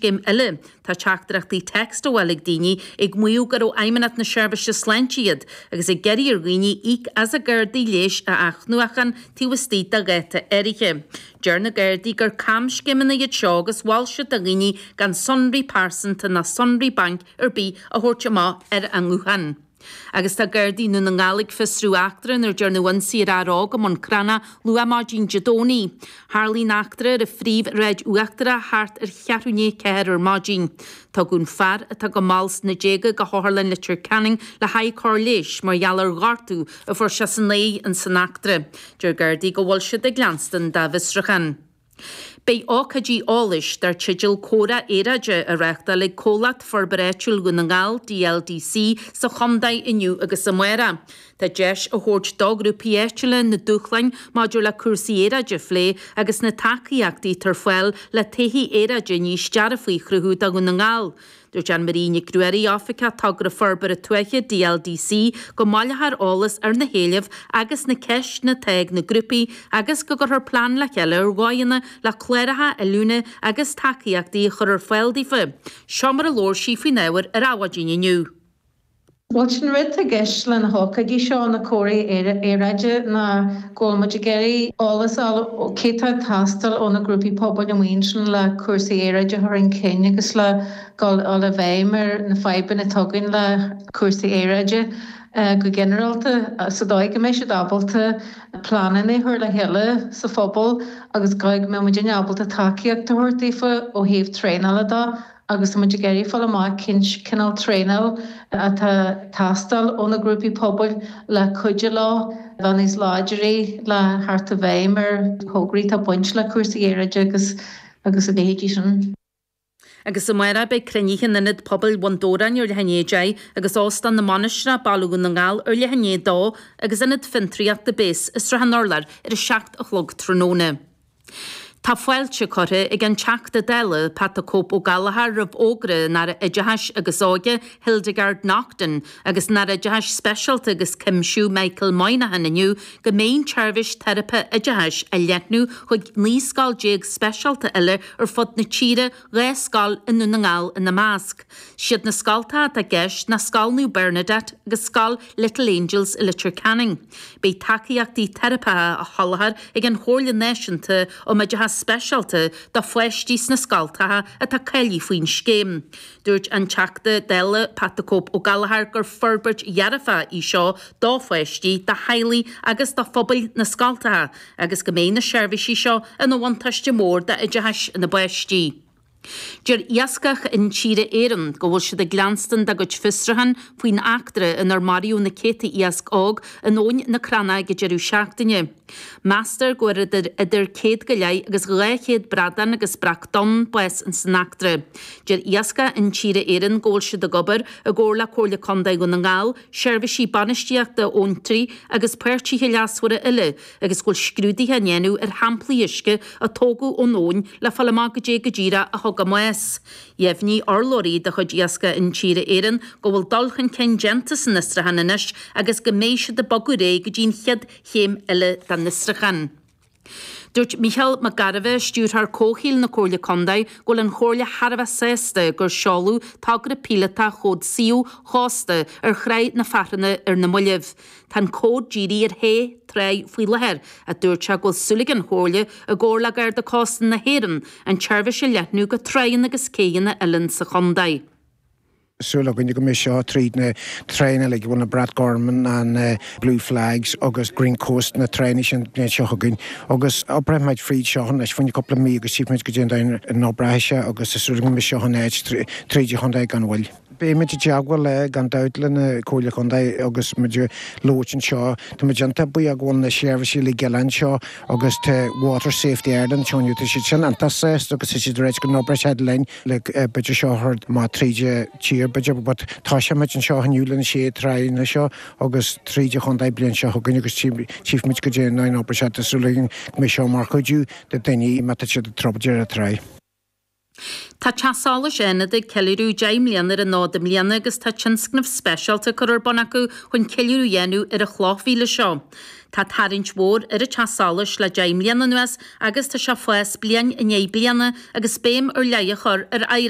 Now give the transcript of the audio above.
camscéim eile. Tá teachtaireachtaí text á bhfáil ag daoine ag maíomh gur ó Fheidhmeannacht na Seirbhíse Sláinte iad agus ag iarraidh ar dhaoine íoc as a gcártaí leighis a athnuachan taobh istigh de dháta áirithe. Deir na Gardaí gur camscéimeanna iad seo agus mhol siad do dhaoine gan sonraí pearsanta ná sonraí bainc ar bith a thabhairt amach ar an nguthán. Agus tá Gardaí i nDún na nGall ag fiosrú eachtra inar dearnadh ionsaí ar fhear óg i mBun Cranncha luath maidin Dé Domhnaigh. Tharlaigh an eachtra ar an Phríomhshráid Uachtarach thart ar cheathrú i ndiaidh 4 ar maidin. Tugadh an fear, atá go mall sna déaga, go hOtharlann Leitir Ceanainn le haghaidh cóir leighis mar gheall ar ghortú a fuair sé san aghaidh in san eachtra. Deir Gardaí go bhfuil siad ag leanstan dá bhfiosrúchán. Beidh ócáidí eolais dar teideal Comhrá Aeráide á reáchtáil ag Comhlacht Forbartha Áitiúil Dhún na nGall, DLDC, sa chontae inniu agus amárach. Tá deis á thabhairt do ghrúpaí áitiúla na dúshláin maidir le cúrsaí aeráide a phlé agus na tacaíochtaí atá ar fáil le todhchaí aeráide níos dearfaí a chruthú do Dhún na nGall. Dúirt Anne Marie Nic Ruairí, Oifigeach Togra Forbartha Tuaithe DLDC, go mbaileofar eolas ar na héilimh agus na ceisteanna atá ag na grúpaí agus go gcuirfear plean le chéile ar dhóigheanna le cláracha oiliúna agus tacaíochtaí a chur ar fáil daofa. Seo mar a labhair sí faoin ábhar ar Adhmhaidin inniu. Bhuel, sin rud atá i gceist le na hócáidí seo, na comhráí aeráide, ná go bhfuil muid ag iarraidh eolas a fháil ó cé tá ag teastáil ó na grúpaí pobail amuigh ansin le cúrsaí aeráide a chur chun cinn agus le dul i bhfeidhm ar na fadhbanna atá againn le cúrsaí aeráide go ginearálta, sa dóigh go mbeidh siad ábalta pleananna a chur le chéile sa phobal agus go mbeidh muidinne ábalta tacaíocht a thabhairt daofa ó thaobh traenála de. agus tá muid ag iarraidh fáil amach cén cineál traenáil atá ag teastáil ó na grúpaí pobail le cuidiú leo bheith níos láidre le theacht i bhfeidhm ar thograí atá ag baint le cúrsaí aeráide agus agus a leithéidí sin. Agus amárach beidh cruinnithe in Ionad Pobail Bhun Dobhráin ar leath i ndiaidh 10 agus Óstán na Mainistreach, Baile Dhún na nGall ar leath i ndiaidh 2 agus Ionad Fiontraíochta Base i Srath an Urláir ar a 7 a chlog tráthnóna. Tá fáilte curtha ag an Teachta Dála, Pat the Cope Ó Gallchóir roimh fhógra an Aire Oideachais agus Óige, Hildegarde Naughton, agus an Aire Oideachais Speisialta agus Cuimsiú, Michael Moynihan inniu go mbeidh an tseirbhís teiripe oideachais á leathnú chuig 19 scoil speisialta eile ar fud na tíre, 2 scoil i nDún na nGall ina measc. Siad na scoltacha atá i gceist ná Scoil Naomh Bernadette agus Scoil Little Angels i Leitir Ceanainn. Beidh tacaíochtaí teiripeacha á sholáthar ag an Chomhairle Náisiúnta um Oideachas Speisialta do pháistí sna scoltacha atá cáilithe faoin scéim. Dúirt an Teachta Dála Pat the Cope Ó Gallchóir gur forbairt dhearfach í seo do pháistí, do theaghlaigh agus do phobail na scoltacha agus go mbeidh na seirbhísí seo ina bhuntáiste mór d'oideachas na bpáistí. Deir Iascach Intíre Éireann go bhfuil siad ag leanstan dá gcuid fiosrúchán faoin eachtra inar maraíodh na céadta iasc óg in Abhainn na Crannach ag an deireadh seachtaine. Meastar go bhfuair idir idir céad go leith agus 200 bradán agus breac donn bás in san eachtra. Deir Iascach Intíre Éireann go bhfuil siad ag obair i gcomhar le Comhairle Contae Dhún na nGall, seirbhísí bainistíochta abhantraí agus páirtithe leasmhara eile agus go bhfuil scrúduithe á ndéanamh ar shamplaí uisce a tógadh ón abhainn le fáil amach goidé go díreach a thug a mbás. Dheimhnigh urlabhraí de chuid Iascach Intíre Éireann go bhfuil dul chun cinn déanta san fhiosrúchán anois agus go mbeidh siad ag bogadh ar aghaidh go dtí an chéad chéim eile den fhiosrúchán. Dúirt Mícheál Mac Gairbheith, Stiúrthóir Comhshaoil na Comhairle Contae, go bhfuil an Chomhairle thar a bheith sásta gur seoladh togra píolótach Chód Suíomh Chósta ar Thráigh na Fearthanna ar na mallaibh. Tá an cód dírithe ar shé tráigh faoi láthair, ach dúirt sé go bhfuil súil ag an Chomhairle, i gcomhar le Garda Cósta na hÉireann, an tseirbhís a leathnú go tráigheanna agus céidheanna eile sa chontae. Súil againne go mbeidh seo tríd na tráigheanna uilig, bhfuil na Brat Gorm, an Blue Flags agus Green Coast, na tráigheanna sin an bhliain seo chugainn. Agus oibreoidh muid fríd seo anois fá choinne cúpla mí agus tchífimid goidé an dóigh a n-oibreoidh sé agus tá súil againn go mbeidh seo in áit tríd an chontae gan mhoill. Beidh muid i dteagmháil le, gan dabht, le na Comhairle Contae agus muid ag labhairt anseo. Tá muid iontach buíoch go bhfuil na seirbhísí uilig eile anseo agus tá Water Safety Ireland anseo inniu, tá siad sin iontach sásta agus tá siad ag ráit go n-oibreoidh siad linn le b'fhéidir seo a chur amach tríd an tír b'fhéidir but toiseoidh muid anseo inniu le na sé tráigheanna seo agus tríd an chontae bliain seo chugainn agus tchífimid goidé an dóigh a n-oibreoidh sé. Tá súil againn go mbeidh seo mar chuidiú do daoine má tá siad ag troid ar an tráigh. Tá Teach Solais Fhánada ag ceiliúradh 10 mbliana ar an fhód i mbliana agus tá tionscnamh speisialta curtha ar bun acu chun ceiliúradh a dhéanamh ar an chloch mhíle seo. Tá tarraingt mhór ar an Teach Solais le 10 mbliana anuas agus tá sé ag fás bliain i ndiaidh bliana agus béim ar leith á chur ar oidhreacht.